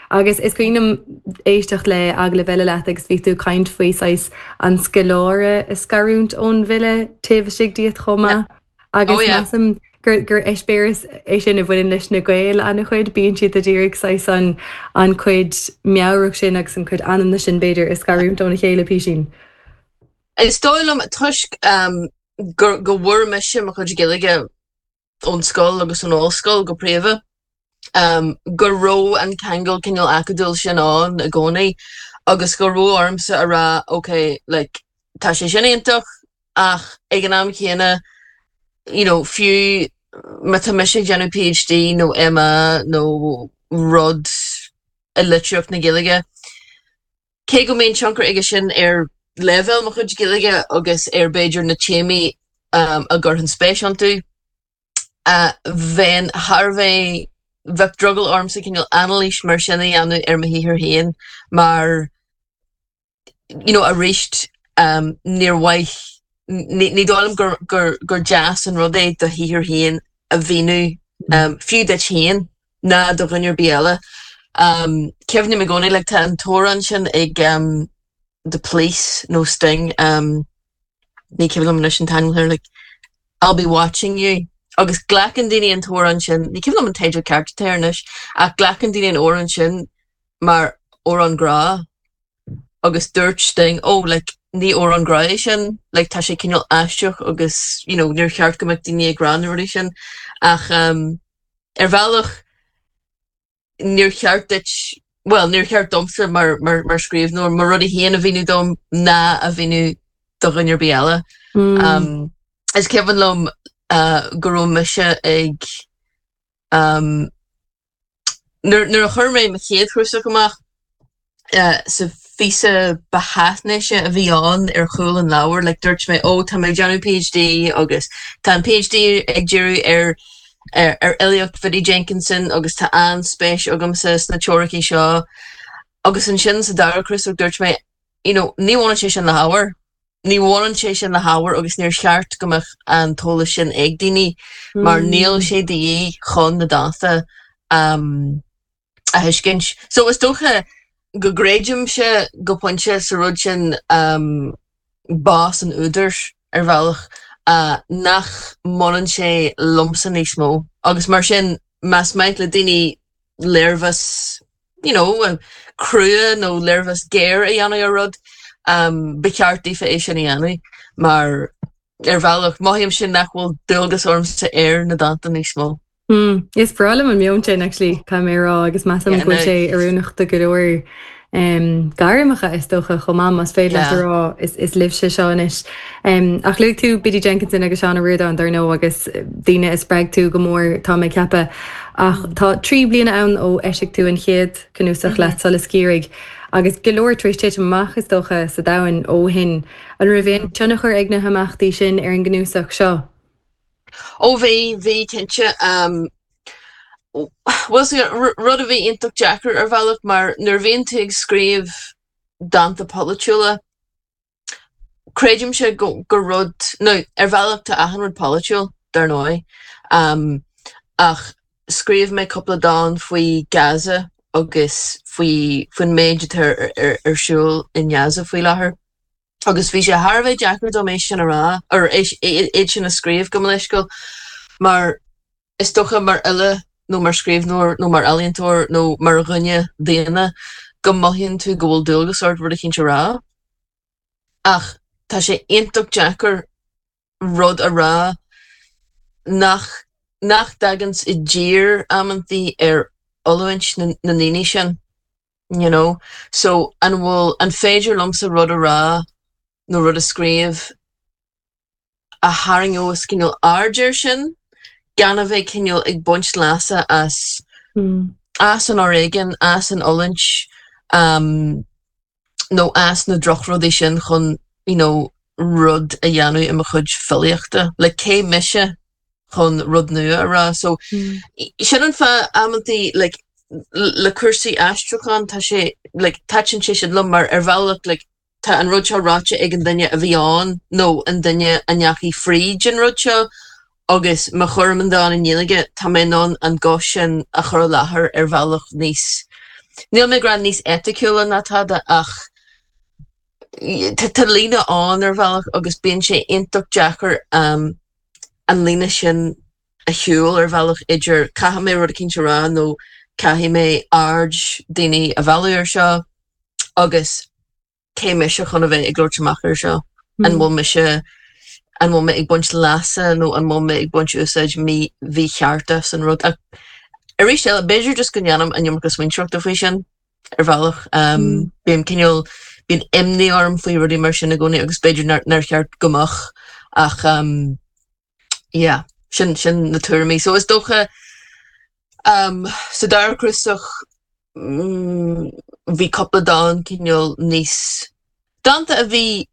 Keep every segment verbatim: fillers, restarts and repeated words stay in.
Agus is cuimhin liom éisteacht le agallamh eile leat agus bhí tú ag caint faoi saghas an scoláire a scarúint ón bhfile taobh istigh díot chomh maith. Agus Oh yeah. measaim gur gur eispéireas é sin a bhaineann leis na Gaeil an-chuid, bíonn siad ag iarraidh saghas an an cuid meabhrach sin agus an cuid anamna sin b'fhéidir a scarúint óna chéile písín. Is dóigh liom toisc um, gur go bhfuair mise mo chuid Gaeilge ón scoil agus ón ollscoil go príomha. Um, go raibh an ceangal cineál acadúil sin ann i gcónaí agus go raibh ormsa a rá okay, like, tá sé sin iontach ach ag an am chéanna you know, fiú má tá mise ag déanamh PhD nó MA nó rud i litríocht na Gaeilge. Cé go mbíonn tionchar aige sin ar leibhéal mo chuid Gaeilge agus ar b'fhéidir na téamaí um, a gcuirfinn spéis iontu. Uh, bheinn thar bheith bheadh drogall ormsa cineál anailís mar sin a dhéanamh ar mo shaothar féin mar you know, arís um, níor mhaith ní ní dóigh liom gur, gur, gur deas an rud é do shaothar féin a mhíniú um, fiú duit féin ná do dhuine ar bith eile. Um, Cuimhním i gcónaí le tá an t-amhrán sin ag um, The Police nó Sting um, ní cuimhin liom anois an t-ainm air like, I'll be watching you. Agus glacann daoine an t-amhrán sin, ní cuimhin liom an teideal ceart atá air anois, ach glacann daoine an t-amhrán sin mar amhrán grá agus dúirt Sting ó like, ní amhrán grá é sin, like, tá sé cineál aisteach agus you know, níor cheart go mbeadh daoine ag rá na rudaí sin ach um, ar bhealach níor cheart duit well níor cheart domsa mar mar mar scríbhneoir mo rudaí féin a mhíniú dom ná a mhíniú do dhuine ar bith eile. Mm. Um, is cuimhin liom uh, go raibh mise ag um, nuair nuair a chuir mé mo chéad chnuasach amach uh, sa phíosa beathaisnéise a bhí ann ar chúl an leabhair, like dúirt mé ó tá mé ag déanamh PhD agus tá an PhD ag díriú ar ar, ar fhilíocht Bhiddy Jenkinson agus tá an-spéis agamsa sna teoiricí seo agus ansin sa dara cnuasach dúirt mé you know, ní bhaineann sé sin le hábhar. Ní bhaineann sé sin le hábhar agus níor cheart go mbeadh an t-eolas sin ag daoine mar níl sé de dhíth chun na dánta um, a thuiscint. So is dócha go gcreidimse go pointe sa rud sin um, bás an údair ar bhealach uh, nach mbaineann sé liomsa níos mó. Agus mar sin más maith le daoine léirmheas you know, uh, crua nó léirmheas géar a dhéanamh ar rud, um, ba cheart daofa é sin a dhéanamh mar ar bhealach mothaím sin nach bhfuil dualgas ormsa ar na dánta níos mó. Mm, is breá liom an meon sin actually tá mé rá agus measaim Yeah, go bhfuil no. sé oiriúnach do go leor um, gairmeacha is dócha chomh maith más féidir leat Yeah. a rá is, is libhse seo anois. Um, ach luaigh tú Biddy Jenkinson agus Seán Ó Ríordáin dar ndóigh agus daoine a spreag tú go mór tá mé ag ceapadh. Ach tá trí bliana ann ó eisigh tú an chéad cnuasach le Solas Geimhridh. agus go leor tar éis titim amach is dócha sa domhan ó shin an raibh aon tionchar ag na himeachtaí sin ar an gcnuasach seo. Ó bhí bhí cinnte um, well rud a bhí iontach deacair ar bhealach mar nuair a bhíonn tú ag scríobh dánta polaitiúla Creidimse go go rud nó ar bhealach tá achan rud polaitiúil dar ndóigh um, ach scríobh mé cúpla dán faoi Gaza agus faoi faoin méid atá ar, ar, ar siúl in Gaza faoi láthair. Agus bhí sé thar a bheith deacair dom é sin a rá ar é sin a scríobh go leisciúil mar is dócha mar fhile nó mar scríbhneoir nó mar ealaíontóir nó mar dhuine daonna go mothaíonn tú go bhfuil dualgas ort rud éicint a rá. Ach tá sé iontach deacair rud a rá nach nach dtagann i dtír amantaí ar fhulaingt na, na ndaoine sin. You know? So an bhfuil an féidir liomsa rud a rá nó rud a scríobh a tharraingeodh cineál aird air sin, gan a bheith cineál ag baint leasa as Mm. as an fhoréigean, as an fhulaingt um, nó as na drochrudaí sin chun you know, rud a dhéanamh i mo chuid filíochta, le cé mise chun rud nua a rá. So Mm. sin an fáth amantaí like, le cúrsaí aistriúcháin tá sé like, taitníonn sé sin liom mar ar bhealach like, tá an rud seo ráite ag an duine a bhí ann nó an duine a ndeachaigh fríd an rud seo agus má chuirim an dán i nGaeilge tá mé in ann an guth sin a chur i láthair ar bhealach níos Níl mé ag rá níos eiticiúla ná tada ach tá líne ann ar bhealach agus bíonn sé iontach deacair an líne sin a shiúl ar bhealach idir caithfidh mé rud eicínt a rá nó caithfidh mé aird daoine a mhealladh air seo agus cé mise chun a bheith ag labhairt amach air seo? An bhfuil mise, an bhfuil mé ag baint leasa nó an bhfuil mé ag baint úsáid mhícheart as an rud? Ach arís eile, b'fhéidir just go ndéanaim an iomarca smaointeoireachta faoi sin ar bhealach. Bím cineál, bíonn imní orm faoi rudaí mar sin i gcónaí agus b'fhéidir nár cheart go mbeadh ach yeah, sin, sin na tuairimí. So is dócha sa dara cnuasach bhí cúpla dán cineál níos, dánta a bhí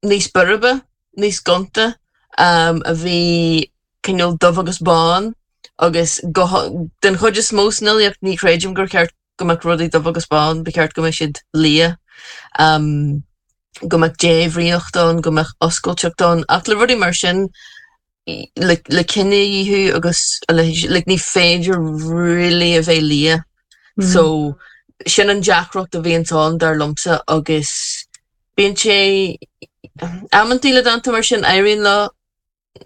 níos boirbe, níos gonta, a bhí cineál dubh agus bán agus go, den chuid is mó san fhilíocht ní chreidim gur cheart go mbeadh rudaí dubh agus bán, ba cheart go mbeadh siad liath, go mbeadh débhríocht ann, go mbeadh oscailteacht ann ach le rudaí mar sin, le le cinedhíothú agus a leithéid, like ní féidir really a bheith liath. So sin an deacracht a bhíonns ann dar liomsa agus bíonn sé amantaí le dánta mar sin éiríonn leo,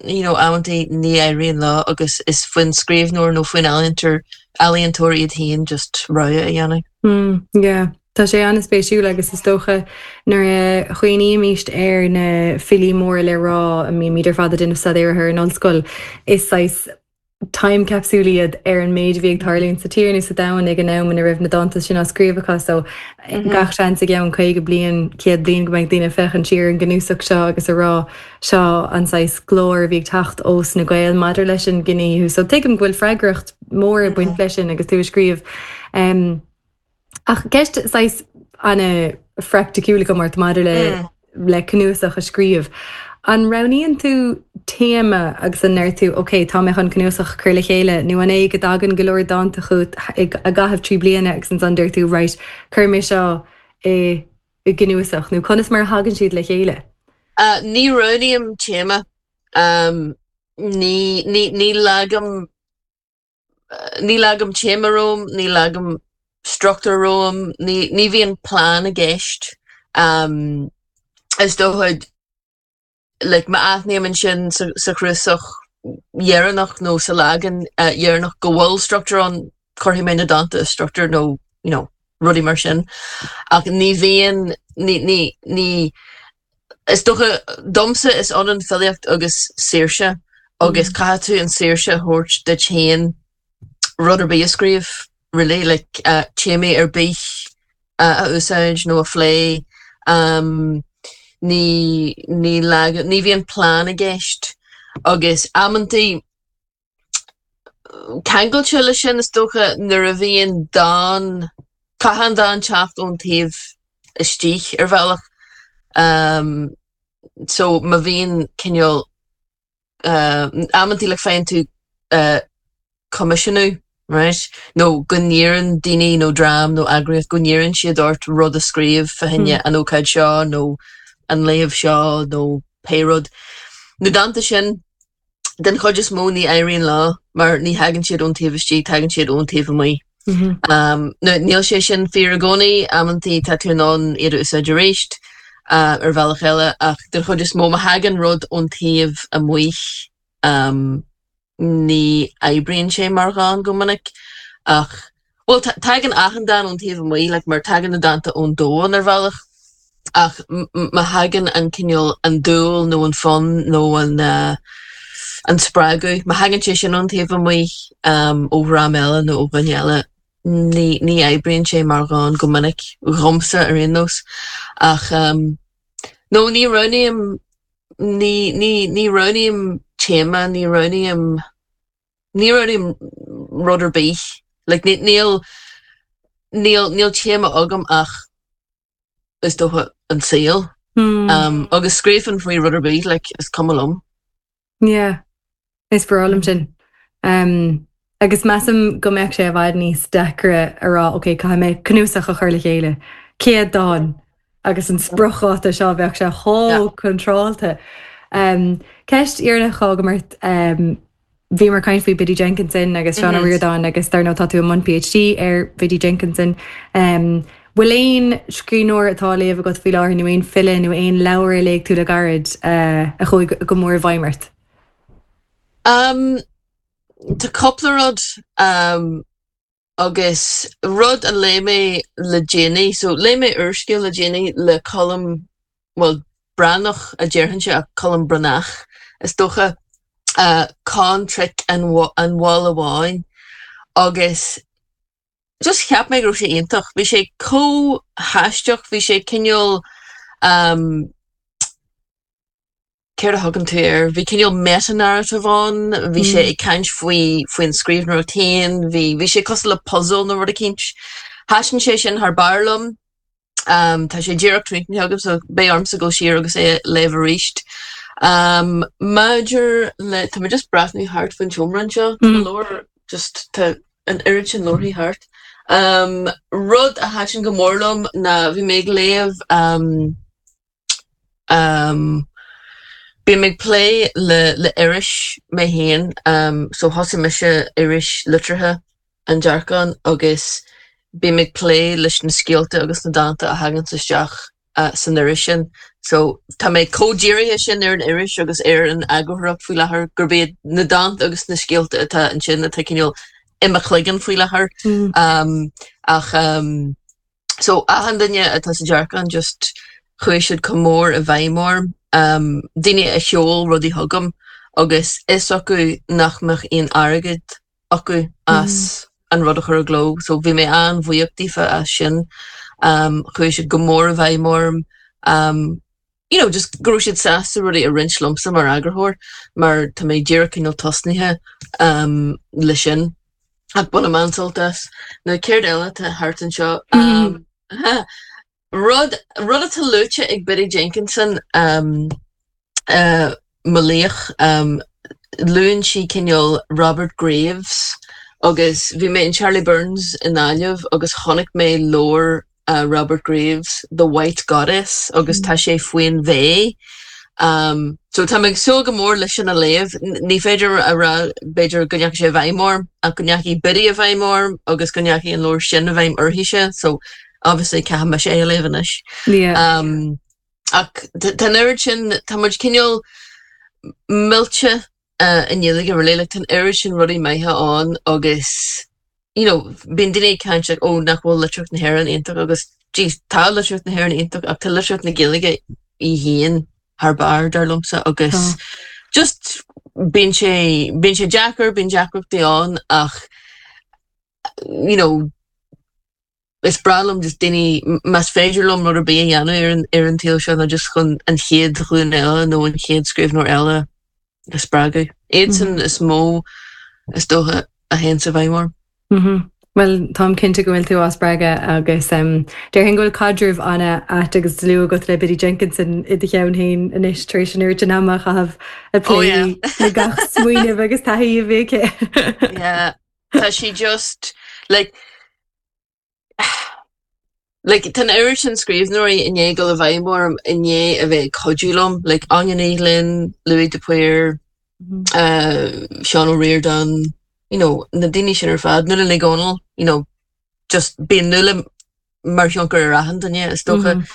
you know amantaí ní éiríonn leo agus is faoin scríbhneoir nó faoin ealaíontóir ealaíontóir iad féin just rogha a dhéanamh. Mm, yeah. Tá sé an-spéisiúil agus is dócha nuair a chuimhnímid ar na filí móra le rá a mbímid ar fad ag déanamh staidéar ar an ollscoil, is saghas time capsule iad ar an méid a bhí ag tarlúint sa tír nó sa domhan ag an am ina raibh na dánta sin á scríobh acu so gach seans i gceann caoga bliain, céad bliain go mbeidh daoine ag féachaint siar ar an gcnuasach seo agus ag rá seo an saghas glór a bhí ag teacht ós na Gaeil maidir leis an gcinedhíothú. So tuigim go bhfuil freagracht mór ag baint leis sin agus tú ag scríobh. Um, Ach ceist saghas an-phraiticiúil agam ort maidir le le cnuasach a scríobh. An roghnaíonn tú téama agus an ndeir tú ok tá mé chun cnuasach a chur le chéile nó an é go dtagann go leor dánta chugat i gcaitheamh trí bliana agus ansan deir tú right cuirfidh mé seo i i gcnuasach nó conas mar a thagann siad le chéile? Uh, ní roghnaím téama. Um, ní, ní, ní leagaim ní leagaim téama romham, ní leagaim struchtúr romham, ní, ní bhíonn plean i gceist. Um, is dócha like, má aithním ansin sa, sa chnuasach dheireanach nó sa leagan uh, dheireanach go bhfuil struchtúr ann, cuirfidh mé na dánta i struchtúr nó you know, rudaí mar sin. Ach ní bhíonn ní, ní, ní, is dócha domsa is ionann filíocht agus saoirse agus caithfidh tú an saoirse a thabhairt duit féin rud ar bith a scríobh, really, like, uh, téamaí ar bith uh, a úsáid nó a phlé. Um, ní, ní, lag, ní bhíonn plean i gceist agus amantaí ceangailte leis sin is dócha nuair a bhíonn dán, caithfidh an dán teacht ón taobh istigh ar bhealach. Um, so má bhíonn cineál uh, amantaí like faigheann tú uh, coimisiúnú, right? Nó go n-iarrann daoine nó dream nó eagraíocht go n-iarrann siad ort rud a scríobh fá choinne an ócáid seo nó an léamh seo nó pé rud. Na dánta sin den chuid is mó ní éiríonn leo mar ní thagann siad ón taobh istigh, tagann siad ón taobh amuigh. Um, níl sé sin fíor i gcónaí, amantaí tá tú in ann iad a úsáid arís uh, ar bhealach eile ach den chuid is mó má thagann rud ón taobh amuigh um, ní oibríonn sé mar dhán go minic ach well tagann achan dán ón taobh amuigh like, mar tagann na dánta ón domhan ar bhealach ach má thagann an cineál an dúil nó an fonn nó an uh, an spreagadh má thagann sé sin ón taobh amuigh um, ó dhream eile nó ó dhuine eile ní ní oibríonn sé mar dhán go minic dhomsa ar aon nós ach um, nó ní roghnaím ní ní ní roghnaím téama ní roghnaím ní roghnaím rud ar bith like ní níl níl níl téama agam ach is dócha an saol Hmm. um, agus scríobhaim faoi rud ar bith like is cuma liom. Yeah. Is breá liom sin. Um, agus measaim go mbeadh sé i bhfad níos deacra a rá ok caithfidh mé cnuasach a chur le chéile. Céad dán agus an spriocdháta seo bheadh sé chomh Yeah. contráilte. Um, ceist dheireanach agam ort um, Bhíomar ag caint faoi Biddy Jenkinson agus Seán Ó Ríordáin agus dar ndóigh tá tú i mbun PhD ar Bhiddy Jenkinson. Um, Bhfuil aon scríbhneoir atá á léamh agat faoi láthair nó aon file nó aon leabhar a léigh tú le gairid uh, a chuaigh go mór i bhfeidhm ort? Um, tá cúpla rud um, agus rud a léigh mé le déanaí, so léigh mé úrscéal le déanaí le Colm well Breathnach a déarfainnse ach Colm Breathnach is dócha uh, Con Trick an an Bhaile Bháin agus just cheap mé go raibh sé iontach, bhí sé chomh haisteach, bhí sé cineál um, céard a thugann tú air, bhí cineál meta-narrative ann, bhí sé ag caint faoi faoin scríbhneoireacht féin, bhí bhí sé cosúil le puzzle nó rud eicínt. Thaitin sé sin thar barr liom. Um, tá sé díreach críochnaithe agam so beidh ormsa dul siar agus é a léamh arís. Um, maidir le tá mé just breathnú thart faoin seomra anseo, tá Mm. leabhar just tá an oiread sin leabharthaí thart. Um, rud a thaitin go mór liom ná bhí mé ag léamh um, um, Bím ag plé le le iris mé féin um, so thosaigh mise iris liteartha an Dearcán agus bím ag plé leis na scéalta agus na dánta a thagann isteach uh, san iris sin. So tá mé chomh dírithe sin ar an iris agus ar an eagarthóireacht faoi láthair gurb iad na dánta agus na scéalta atá ansin atá cineál i mo chloigeann faoi láthair. Mm. Um, ach um, so achan duine atá sa Dearcán just chuaigh siad go mór i bhfeidhm orm. Um, daoine a sheol rudaí chugam agus is acu nach mbeadh aon airgead acu as an rud a chur i gcló, so bhí mé an-bhuíoch daofa as sin. Um, chuaigh siad go mór i bhfeidhm orm. Um, you know, just go raibh siad sásta rudaí a roinnt liomsa mar eagarthóir, mar tá mé díreach cineál tosnaithe um, le sin. Ach bainim an-sult as. Nó céard eile atá thart anseo. Um, rud rud atá luaite ag Biddy Jenkinson um, uh, mo laoch um, luann sí cineál Robert Graves agus bhí mé in Charlie Byrne's i nGaillimh agus chonaic mé leabhar uh, Robert Graves, The White Goddess agus tá sé faoin bhé. Um, so tá mé ag súil go mór leis sin a léamh, ní féidir a rá b'fhéidir go ndeachaigh sé i bhfeidhm orm ach go ndeachaigh Biddy i bhfeidhm orm agus go ndeachaigh an leabhar sin i bhfeidhm uirthise, so obviously caithfidh mé sé a léamh anois. Yeah. Um, ach tá an oiread sin tá muid cineál millte uh, i nGaeilge really like, tá an oiread sin rudaí maithe ann agus you know, bíonn daoine ag caint like, ó nach bhfuil litríocht na hÉireann iontach agus geez, tá litríocht na hÉireann iontach ach tá litríocht na Gaeilge í féin thar barr dar liomsa agus Tá. just bíonn sé bíonn sé deacair bíonn deacrachtaí ann ach you know, is breá liom just daoine más féidir liom rud ar bith a dhéanamh ar an ar an tsaol seo ná just chun an chéad ghlúin eile nó an chéad scríbhneoir eile a spreagadh. Iad is mó is dócha a théann i bhfeidhm orm. Mhm. Well táim cinnte go bhfuil tú á spreagadh agus um, déarfainn go bhfuil caidreamh an-ait agus dlúth agat le Biddy Jenkinson i do cheann féin anois tar éis an oiread sin ama a chaitheamh ag Oh plé yeah. le gach smaoineamh agus taithí a bhí aici. Yeah. Tá sí just like like tá an oiread sin scríbhneoirí i ndiaidh dul i bhfeidhm orm i ndiaidh a bheith ag cuidiú liom, like Áine Ní Ghlinn, Louis de Paor, uh, Seán Ó Ríordáin, you know, na daoine sin ar fad, Nuala Ní Dhomhnaill, you know, just bíonn Nuala mar thionchar ar achan duine is dócha. Mhm.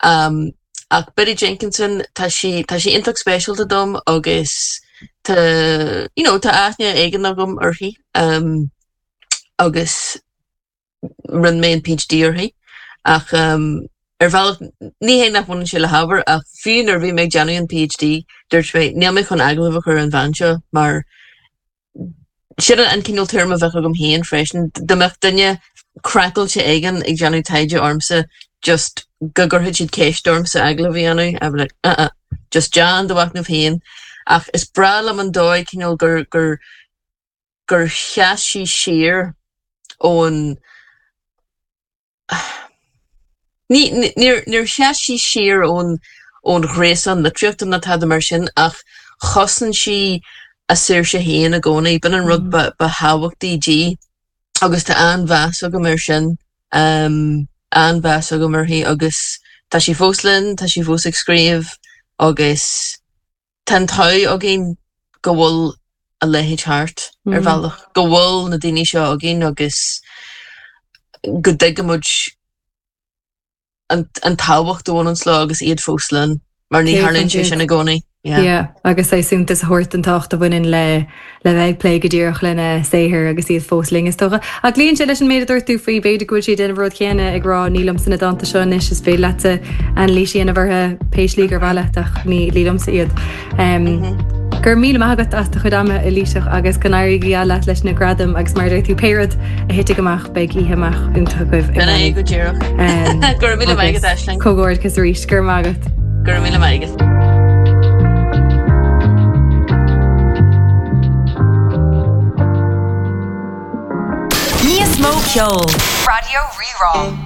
Um, ach Biddy Jenkinson tá sí tá sí iontach speisialta dom agus tá you know, tá aithne éigin agam uirthi um, agus rinne mé an PhD uirthi ach um, ar bhealach ní hé nach mbaineann sé le hábhar ach fiú nuair a bhí mé ag déanamh an PhD dúirt mé níl mé chun agallamh a chur ar an bhean seo mar sin an cineál tuairim a bheadh agam féin freisin dá mbeadh duine craiceáilte éigin ag déanamh taighde ormsa just go gcuirfeadh siad ceist ormsa agallamh a dhéanamh I'd be like uh uh just déan do mhachnamh féin ach is breá liom an dóigh cineál gur gur gur sheas sí siar ón Ní níor níor sheas sí siar ón ón ghréasán litríochta ná tada mar sin ach chosain sí a saoirse féin i gcónaí, b'in an rud ba ba thábhachtaí di agus tá an-mheas agam air sin um, an-mheas agam uirthi agus tá sí fós linn, tá sí fós ag scríobh agus tá an t-ádh againn go bhfuil a leithéid thart ar bhealach, go bhfuil na daoine seo againn agus go dtuigimid an an tábhacht a bhaineann leo agus iad fós linn, mar ní tharlaíonn sé sin i gcónaí. Yeah. Yeah, agus é suntas a thabhairt an tábhacht a bhaineann le le bheith ag plé go díreach lena saothar agus iad fós linn is dócha. Ach luíonn sé leis an méid a dúirt tú faoi b'fhéidir go bhfuil siad ag déanamh an rud chéanna ag rá ní liomsa na dánta seo anois is féidir leatsa anailís a dhéanamh orthu pé slí gur mhaith leat ach ní ní liomsa iad. Um, mm -hmm. Go raibh míle maith agat as do chuid ama Laoighseach agus go n-éirí go geal leat leis na gradaim agus mar a deir tú pé rud a thitfidh amach beidh oíche amach iontach agaibh. B'in é go díreach. Go raibh míle maith agat Aisling. Comhghairdeachas arís go raibh maith agat. Go raibh míle maith agat. Níos mó ceol. Raidió Rí-Rá.